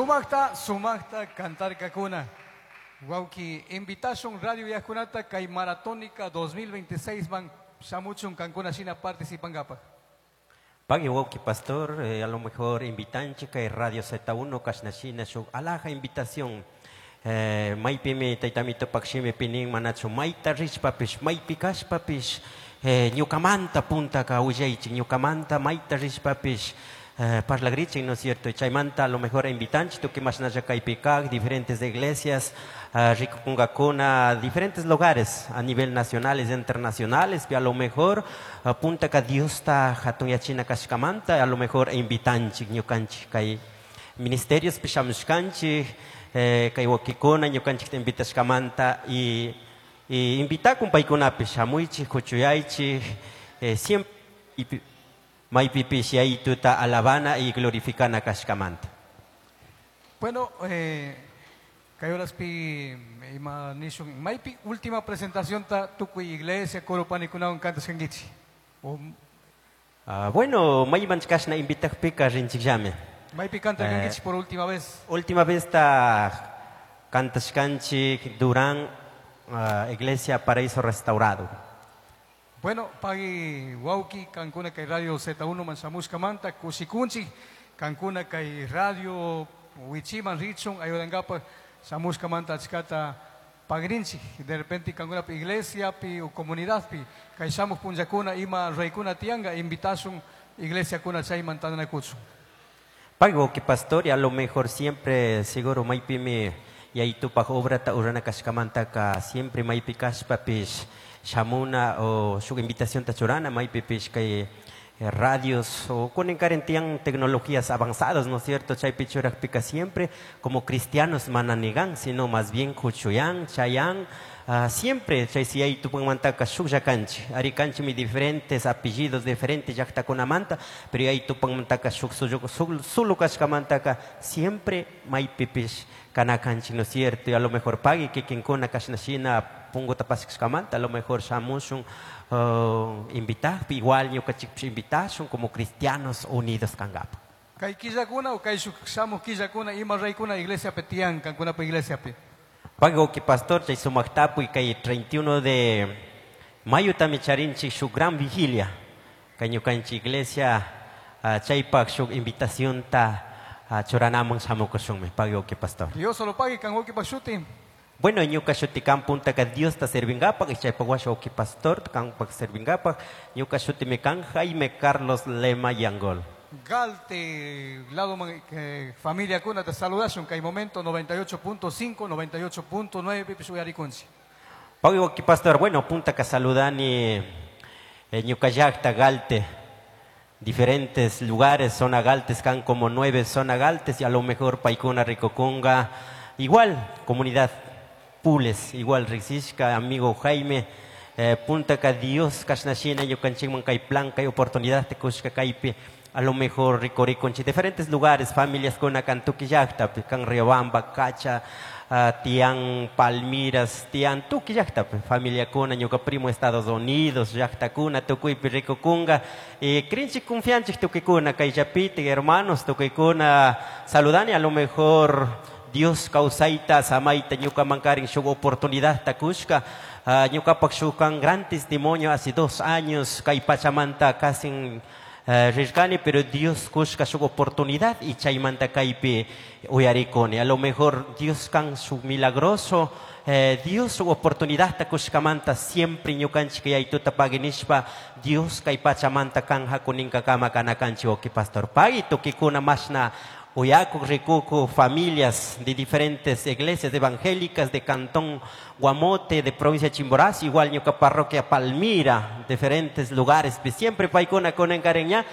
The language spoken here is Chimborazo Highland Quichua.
Sumaqta, sumaqta cantarkakuna. Wawki, invitashun radio uyajkunata kay Maratónica 2026 man shamuchun kankuna shina participankapaj. Pagui wawki pastor, a lo mejor invitanchik kay Radio Z1 kashnashina shuk alaja invitación. Maypimi taytamitupak shimipi nin manachu mayta rishpapish maypi kashpapish ñukamanta puntaka willaychik ñukamanta mayta rishpapish parlagrichik, ¿no es cierto? Chaymanta a lo mejor invitanchik tukuy mashnalla kaypi kak diferentes iglesias rikukunkakuna diferentes lugares a nivel nacionales e internacionales, a lo mejor puntaka Diosta hatunyachina kashkamanta a lo mejor invitanchik ñukanchik kay ministerios shamushkanchik kay wawkikuna ñukanchikta invitashkamanta y invitakun paykunapish shamuychik kuchuyaychik siempre maypipish yayituta alabana y glorificana kashkamanta. Bueno, kay horaspi ima nishun maypi última presentación ta tukuy iglesia coro panikunawan kantashkankichik. O Ah, bueno, mayman kashna invitakpika rinchikllami. Maypi cantarkankichik por última vez? Última vez ta kantashkanchik Durán, Iglesia Paraíso Restaurado. Bueno, pagui wawki kankuna kay Radio Z1 man shamushkamanta kushikunchik kankuna kay radio wichiman richun ayudankapaj shamushkamanta achkata pagrinchik. De repente kankunapi iglesia pi o comunidad pi kay shamuj punllakuna ima raykuna tiyanka invitashun iglesia kuna chayman tantanakuchun. Pagui wawki pastor, y a lo mejor siempre seguro maypimi yayitupaj obrata urana kashkamantaka siempre maypi kashpapish shamuna o shuk invitación ta churana maypipish kay radios o kunan tiyan tecnologías avanzadas, ¿no es cierto? Chaypi churakpika siempre como cristianos mana nigan, sino más bien kuchuyan, chayan, siempre chay si yayitupanmantaka shuklla kanchik, ari kanchikmi diferentes apellidos, diferentes llaktakunamanta, pero yayitupanmantaka shuk solo kashkamantaka siempre maypipish kana kanchik, ¿no es cierto? Y a lo mejor pagui kikinkuna kashnashina punguta pasashkamanta, a lo mejor shamushun invitakpi, igual ñukanchikpish invitashun como cristianos unidos kankapa. Kay killakuna o kay shuk shamuj killakuna ima raykuna iglesia pi tiyan kankunapa iglesia pi? Pagui wawki pastor, chay sumak tapuy kay 31 de mayo tami charinchik shuk gran vigilia. Kay ñukanchik iglesia chaypak shuk invitación ta churanaman shamukushunmi. Pagui wawki pastor. Dios solo pague kan wawki shuti. Bueno, ñuka shuti kan puntaka Diosta servingapak y chaypak washa wawki pastor kanpak servingapak. Ñuka shutimi kan Jaime Carlos Lema Yangol. Galte, lado man, familia kuna te saludashun kay momento 98.5, 98.9 pipish uyarikunchik. Pagui wawki pastor, bueno, puntaka saludani ñuka llakta Galte, diferentes lugares, zona Galtes, kan como 9 zona Galtes y a lo mejor paykuna rikukunga, igual comunidad Pules, igual riksishka, amigo Jaime, puntaka Dios kashnashina ñukanchikman kay plan, kay oportunidad te kushka kaypi, a lo mejor rikurikunchik diferentes lugares, familias kuna kan tukuy llaktapi, kan Riobamba, Cacha, tiyan Palmiras, tiyan tukuy llaktapi, familia kuna, ñuka primo Estados Unidos, llaktakuna, tukuypi rikukunga, y krinchik confianchik tukuykuna, kayllapiti, hermanos, tukuykuna, saludani, a lo mejor Dios kawsayta, samayta, ñuka mankarin shuk oportunidad takushka, ñukapak shuk kan gran testimonio hace 2 años, kay pachamanta casi rirkani, pero Dios kushka shuk oportunidad y chaymanta kaypi uyarikuni. A lo mejor Dios kan shuk milagroso, Dios shuk oportunidad takushkamanta siempre ñukanchik yaytuta paginishpa, Dios kay pachamanta kan hakuninkakama kanakanchik wawki pastor. Pagui tukikuna mashna uyakuk rikuku familias de diferentes iglesias evangélicas de Cantón Guamote, de provincia de Chimborazo, igual ñuka parroquia Palmira, diferentes lugares, siempre paykuna kunan kareña.